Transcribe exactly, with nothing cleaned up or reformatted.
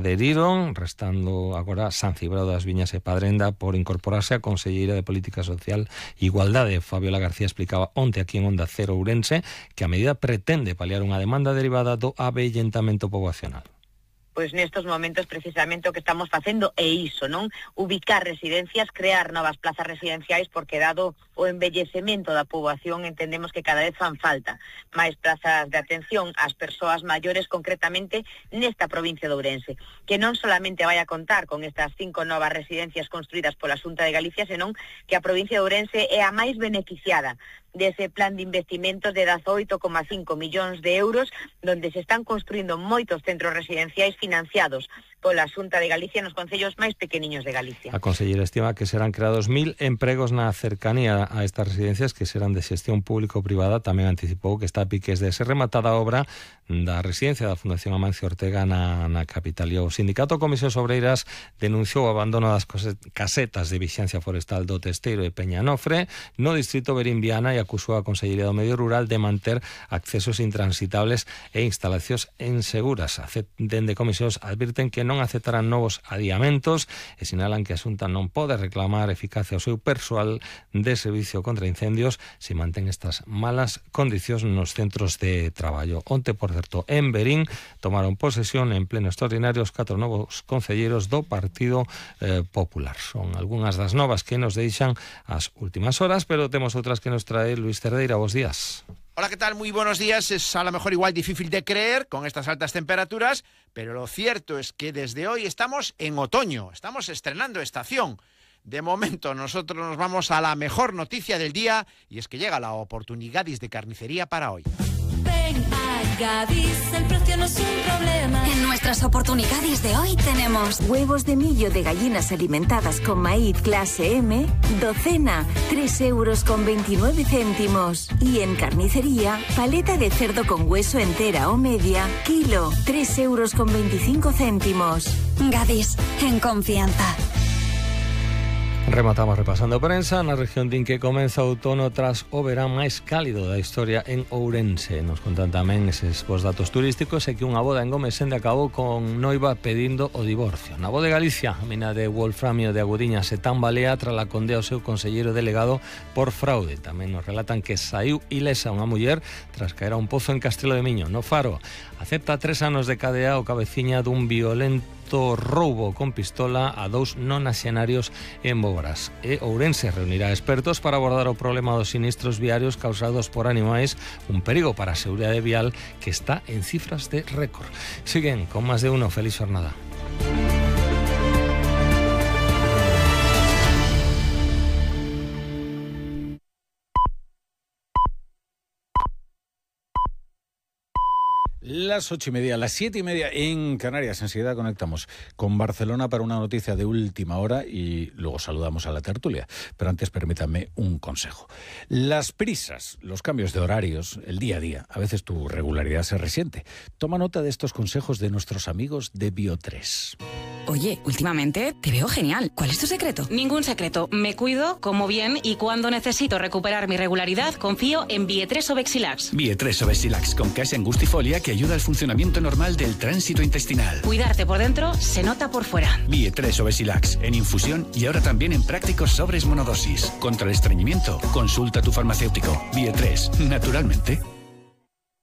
Aderiron, restando agora San Cibrao das Viñas e Padrenda por incorporarse a Conselleira de Política Social e Igualdade. Fabiola García explicaba onte aquí en Onda Cero Ourense que a medida pretende paliar unha demanda derivada do avellentamento poboacional. Pois nestos momentos precisamente o que estamos facendo é iso, non? Ubicar residencias, crear novas plazas residenciais, porque dado o envellecemento da poboación entendemos que cada vez fan falta máis plazas de atención ás persoas maiores, concretamente nesta provincia de Ourense, que non solamente vai a contar con estas cinco novas residencias construídas pola Xunta de Galicia, senón que a provincia de Ourense é a máis beneficiada dese plan de investimentos de dezaoito coma cinco millóns de euros, donde se están construindo moitos centros residenciais financiados pola Xunta de Galicia nos concellos máis pequeniños de Galicia. A conselleira estima que serán creados mil empregos na cercanía a estas residencias que serán de xestión público-privada. Tamén anticipou que está a piques de ser rematada a obra da residencia da Fundación Amancio Ortega na, na capital. E o Sindicato Comisións Obreiras denunciou o abandono das casetas de vixiancia forestal do Testeiro e Peñanofre no distrito Berimbiana e acusou a Consellería do Medio Rural de manter accesos intransitables e instalacións inseguras. Dende Comisións advirten que non aceptarán novos adiamentos e sinalan que a Xunta non pode reclamar eficacia ao seu persoal de servicio contra incendios se mantén estas malas condicións nos centros de traballo. Onte, por certo, en Verín tomaron posesión en pleno extraordinario os catro novos concelleiros do Partido eh, Popular. Son algunhas das novas que nos deixan as últimas horas, pero temos outras que nos trae Luis Cerdeira. Bos días. Hola, ¿qué tal? Muy buenos días. Es a lo mejor igual difícil de creer con estas altas temperaturas, pero lo cierto es que desde hoy estamos en otoño, estamos estrenando estación. De momento nosotros nos vamos a la mejor noticia del día y es que llega la Oportunigadis de carnicería para hoy. Ven a Gadis, el precio no es un problema. En nuestras Oportunigadis de hoy tenemos huevos de millo de gallinas alimentadas con maíz clase M, docena, tres euros con veintinueve céntimos. Y en carnicería, paleta de cerdo con hueso entera o media, kilo, tres euros con veinticinco céntimos. Gadis, en confianza. Rematamos repasando prensa. Na región din que comeza o outono tras o verán máis cálido da historia en Ourense. Nos contan tamén eses vos datos turísticos e que unha boda en Gomesende acabou con noiva pedindo o divorcio. Na Voz de Galicia, a mina de wolframio de Agudiña se tambalea tras la condea ao seu conselleiro delegado por fraude. Tamén nos relatan que saiu ilesa unha muller tras caer a un pozo en Castrelo de Miño. No Faro, acepta tres anos de cadea o cabeciña dun violento roubo con pistola a dous nonaxenarios en Boborás. E Ourense reunirá expertos para abordar o problema dos sinistros viarios causados por animais, un perigo para a seguridade vial que está en cifras de récord. Siguen con máis de uno. Feliz jornada. Las ocho y media, las siete y media en Canarias. Enseguida conectamos con Barcelona para una noticia de última hora y luego saludamos a la tertulia. Pero antes permítanme un consejo. Las prisas, los cambios de horarios, el día a día, a veces tu regularidad se resiente. Toma nota de estos consejos de nuestros amigos de Bio tres. Oye, últimamente te veo genial. ¿Cuál es tu secreto? Ningún secreto. Me cuido, como bien y cuando necesito recuperar mi regularidad, confío en Bio tres Obexilax. Bio tres Obexilax con caixa angustifolia que ayuda al funcionamiento normal del tránsito intestinal. Cuidarte por dentro se nota por fuera. Bio tres Obexilax en infusión y ahora también en prácticos sobres monodosis. Contra el estreñimiento, consulta a tu farmacéutico. Bio tres, naturalmente.